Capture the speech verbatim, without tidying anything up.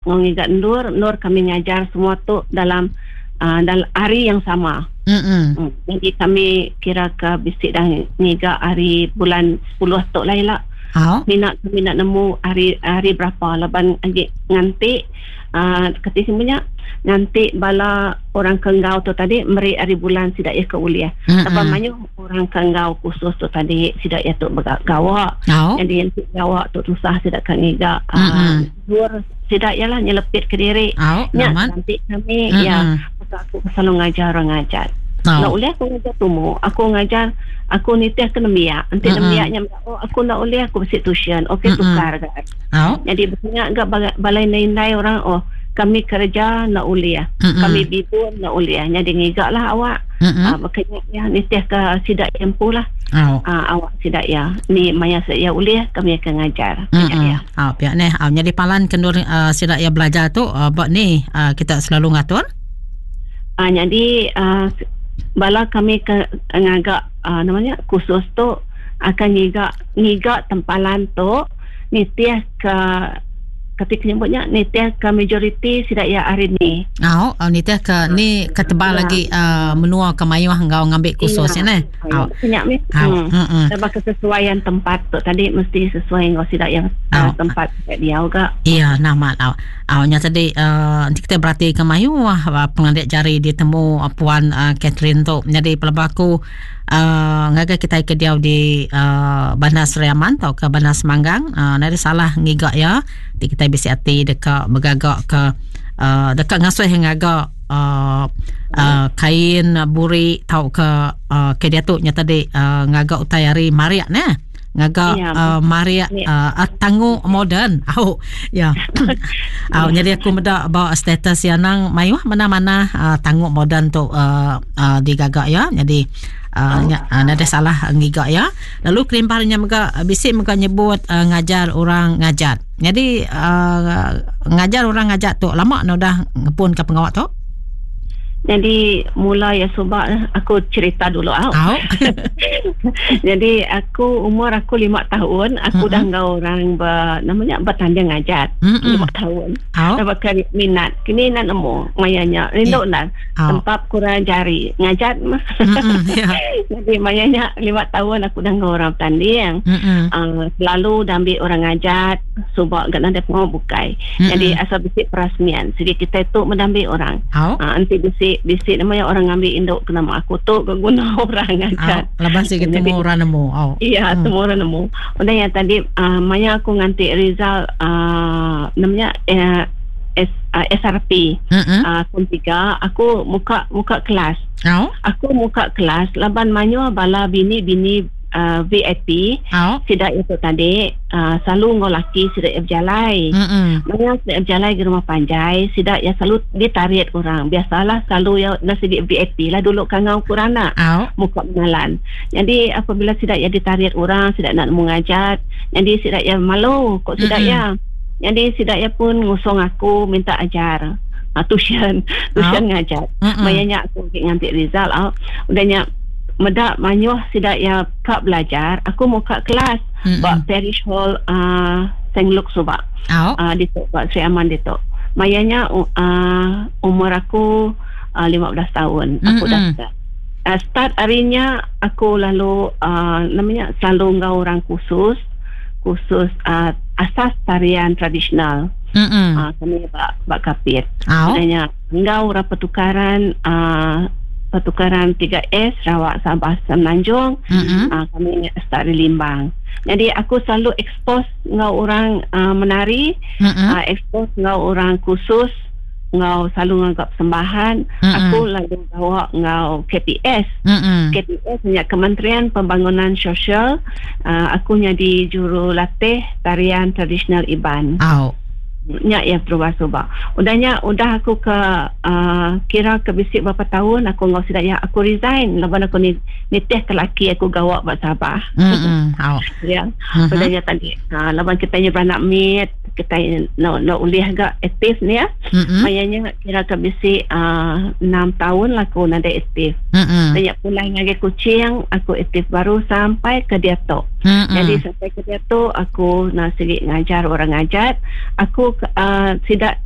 Ngiga endur endur kami ngajar semua tu dalam uh, dalam hari yang sama. Mm-mm. Hmm. Jadi kami kira ke bisi dah ngiga hari bulan sepuluh tu lah ila. Oh. Mina kami nak nemu hari hari berapa laban agi nganti uh, kati semuanya nganti bala orang ke enggau tu tadi meri hari bulan sidak ya ke uliah. Mm-mm. Laban mayuh orang ke enggau khusus tu tadi sidak ya tu bergawa. Oh. Jadi nanti gawa tu susah sidak ke ngiga uh, Mm-mm. dur sidak ialah nyelepit ke diri. Oh, Nya amat. nanti kami Mm-mm. ya aku selalu ngajar orang ngajar. Oh. Nak boleh aku ngajar tumu, aku ngajar aku nitih ke nembiak. Nanti Mm-mm. nembiaknya oh aku nak boleh aku besi tuition. Okey Mm-mm. tukar kan. Oh. Jadi banyak gak balai nindai orang oh kami kerja nak uliah. Mm-mm. Kami bibun nak uliah. Jadi ngigak lah awak. Mm-mm. Ah, makanya ya nitih ke sidak empu lah. Oh. Ah, awak sidak ya. Ni maya saya uliah kami akan ngajar. Mm-mm. Ya. Ah, pihak ni, ah, jadi palan kendur uh, sidak ya belajar tu uh, buat ni uh, kita selalu ngatur. Ah, jadi uh, bala kami ke ngagak uh, namanya khusus tu akan ngigak ngigak tempalan tu nitih ke ketika nyebutnya nitih ke majoriti sidak ya hari ni. Oh, oh nitih ke ni ke tebal Ya. lagi uh, menua ke mayuh enggau ngambil khusus ya ne. Oh. Banyak ni. Oh. Hmm. Mm-mm. Sebab kesesuaian tempat tu tadi mesti sesuai dengan sidak yang Oh. uh, tempat dia juga. Iya, nama au. Au nya tadi uh, nanti kita berarti ke mayu uh, pengandik jari ditemu uh, puan uh, Catherine tu. Jadi pelabaku uh, ngagai kita ke dia di uh, Bandar Seri Aman atau ke Bandar Semanggang, uh, nada salah ngigak ya. Nanti kita bisi hati dekat bergagak ke uh, dekat ngasuh yang ngagak uh, uh, kain buri tau ke uh, ke dia tu nya tadi uh, ngagak utai hari mariak ne. Ngagak Ya, uh, mariak Ya. uh, tangu moden. Au ya. Au jadi aku medak bawa status ya nang mayuh mana-mana uh, tangu moden tu uh, uh, digagak ya. Jadi uh, nya uh, nada salah ngigak ya. Lalu kelimparnya mega bisik mega nyebut uh, ngajar orang ngajat. Jadi uh, ngajar orang ngajat tu lama no dah ngepun ke pengawak tu? Jadi mula ya subak aku cerita dulu au. Au. Jadi aku umur aku lima tahun aku Mm-mm. dah enggau orang ber, namanya bertanding ngajat. Mm-mm. Lima tahun. Au. Sebab kan minat. Kini nak nemu mayanya. Rindu lah. Au. Tempat kurang jari ngajat mah. Mm-mm. Ya. Jadi mayanya lima tahun aku dah enggau orang bertanding. Mm-mm. Uh, selalu dah ambil orang ngajat subak gak ada pengawak bukai. Mm-mm. Jadi asal bisik perasmian. Jadi kita tu mendambil orang. Au. Ah, nanti bisik bisik namanya orang ambil induk ke nama aku tu ke guna orang ngajat. Au. Lepas sih ketemu Jadi- orang nemu. Au. Iya, Hmm. semua orang nemu. Udah yang tadi uh, maya aku nganti Rizal uh, namanya uh, S, uh, S R P Mm-mm. uh, tahun tiga aku muka muka kelas. Au. Aku muka kelas laban manyo bala bini-bini uh, V I P Au. sidak itu tadi uh, selalu ngau laki sidak yang berjalai. Mm-mm. Maya sidak berjalai ke rumah panjai, sidak yang selalu ditarik orang. Biasalah selalu yang nasi di V I P lah dulu kan ngau kurang nak Au. muka menalan. Jadi apabila sidak yang ditarik orang, sidak nak mengajat, jadi sidak yang malu kok sidak Mm-mm. ya. Jadi sidak ya pun ngusung aku minta ajar. Ah, tuition, tuition ngajar. Mm-mm. Mayanya aku pergi nganti Rizal ah. Udahnya medak manyuh sidak ya kak belajar, aku mau kak kelas Mm-mm. bak Parish Hall uh, Sengluk Subak. Au. Uh, di tu bak Sri Aman di tu. Mayanya uh, umur aku uh, lima belas tahun. Aku dah Mm-mm. start. Uh, start harinya aku lalu uh, namanya selalu enggau orang khusus khusus uh, asas tarian tradisional. Mm-mm. Uh, kami bak bak kapit. Au. Sebenarnya enggau orang pertukaran uh, pertukaran tiga S Sarawak Sabah Semenanjung. Mm-mm. Uh, kami start di Limbang. Jadi aku selalu expose enggau orang uh, menari, Mm-mm. uh, expose enggau orang khusus, enggau selalu nganggap sembahan. Mm-mm. Aku lalu bawa enggau K P S. Mm-mm. K P S punya Kementerian Pembangunan Sosial. Uh, aku jadi jurulatih tarian tradisional Iban. Au. Nyak yang terubah subak. Udahnya udah aku ke uh, kira ke bisik berapa tahun aku ngau sidak ya aku resign laban aku ni nitih ke laki aku gawak buat Sabah. Mm-mm. Au. Ya. Mhm. Udahnya tadi uh, laban kita ni beranak mit kita no no ulih agak aktif ni ya. Mm-mm. Mayanya kira ke bisik uh, enam tahun lah aku nada aktif. Mm-mm. Banyak pulang lagi kucing aku aktif baru sampai ke dia tu. Mm-mm. Jadi sampai ke dia tu aku nak sikit ngajar orang ngajar. Aku uh, sida